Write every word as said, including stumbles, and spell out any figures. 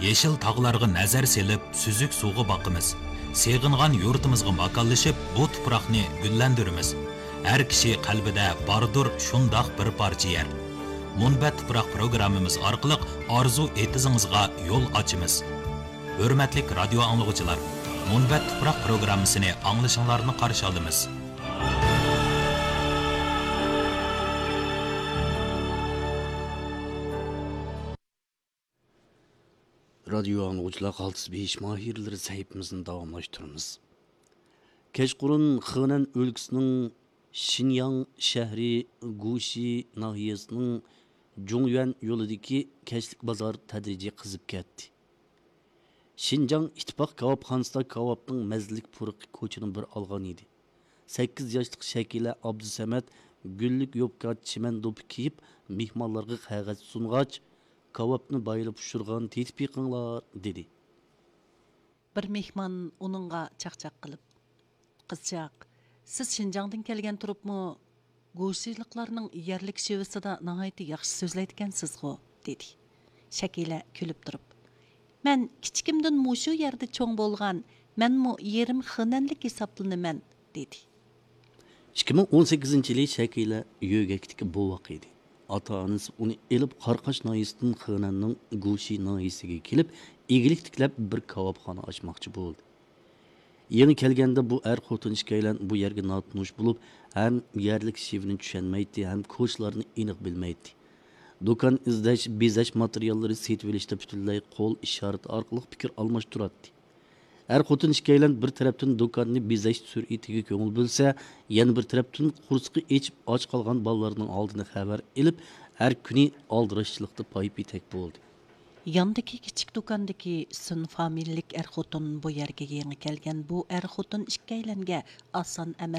يېشىل تاغلارغا نەزەر سېلىپ، سۈزۈك سۇغا باقىمىز. سېغىنغان يۇرتىمىزغا ماكانلىشىپ، بۇ تۇپراقنى گۈللەندۈرىمىز. ھەر كىشى قەلبىدە باردۇر شۇنداق بىر پارچە يەر. مۇنبەت تۇپراق پروگراممىمىز ئارقىلىق ئارزۇ ئېتىزىڭىزغا يول ئاچىمىز. ھۆرمەتلىك رادىيو ئاڭلىغۇچىلار، مۇنبەت تۇپراق پروگراممىسىنى ئاڭلىشىڭلارنى قارشى ئالىمىز. رادىيو ئاڭلىغۇچىلار، قالتىس بېيىش ماھىرلىرى سەھىپىمىزنى داۋاملاشتۇرىمىز. كەچقۇرۇن خېنەن ئۆلكىسىنىڭ شىنياڭ شەھىرى گۇشى ناھىيەسىنىڭ جۇڭيۈەن يولىدىكى كەچلىك بازار تەدرىجىي قىزىپ كەتتى. شىنجاڭ ئىتتىپاق كاۋاپخانىسىدا كاۋاپنىڭ مەززىلىك پۇرىقى كوچىنى بىر ئالغان ئىدى. سەككىز ياشلىق شەكىلە ئابدۇسەمەت گۈللۈك يوپكا چىمەن دوپپا كىيىپ، مېھمانلارغا قەغەز سۇنغاچ، كاۋاپنى بايىلى پىشۇرغان، تېتىپ بېقىڭلار، دېدى. بىر مېھمان ئۇنىڭغا چاقچاق قىلىپ، قىزچاق، سىز شىنجاڭدىن كەلگەن تۇرۇپمۇ گۇشىلىقلارنىڭ يەرلىك شېۋىسىدا ناھايىتى ياخشى سۆزلەيدىكەنسىزغۇ؟ دېدى. شەكىلە كۈلۈپ تۇرۇپ، مەن كىچىكىمدىن مۇشۇ يەردە چوڭ بولغان، مەنمۇ يېرىم خېنەنلىك ھېسابلىنىمەن، دېدى. ئىككى مىڭ ئون سەككىزىنچى يىلى شەكىلە يۆگەكتىكى بوۋاق ئىدى. ئاتا-ئانىسى ئۇنى ئېلىپ، قاراقاش ناھىيەسىدىن خېنەننىڭ گۇشى ناھىيەسىگە كېلىپ، ئىگىلىك تىكلەپ، بىر كاۋاپخانا ئاچماقچى بولدى. يېڭى كەلگەندە بۇ ئەر-خوتۇن ئىككىيلەن بۇ يەرگە ناتونۇش بولۇپ، ھەم يەرلىك شېۋىنى چۈشەنمەيتتى، ھەم كوچىلارنى ئېنىق بىلمەيتتى. دۇكان ئىزدەش، بېزەش ماتېرىياللىرى سېتىۋېلىشتا پۈتۈنلەي قول ئىشارىتى ئارقىلىق پىكىر ئالماشتۇراتتى. ئەر-خوتۇن ئىككىيلەن بىر تەرەپتىن دۇكاننى بېزەش سۈرئىتىگە كۆڭۈل بۆلسە، يەنە بىر تەرەپتىن قورسىقى ئېچىپ ئاچ قالغان بالىلارنىڭ ھالىدىن خەۋەر ئېلىپ، ھەر كۈنى ئالدىراشچىلىقتا پايىپ يېتەك بولدى. ياندىكى كىچىك دۇكاندىكى سۈن فامىلىلىك ئەر-خوتۇن بۇ يەرگە يېڭى كەلگەن بۇ ئەر-خوتۇن ئىككىيلەنگە ئاسان ئەمەس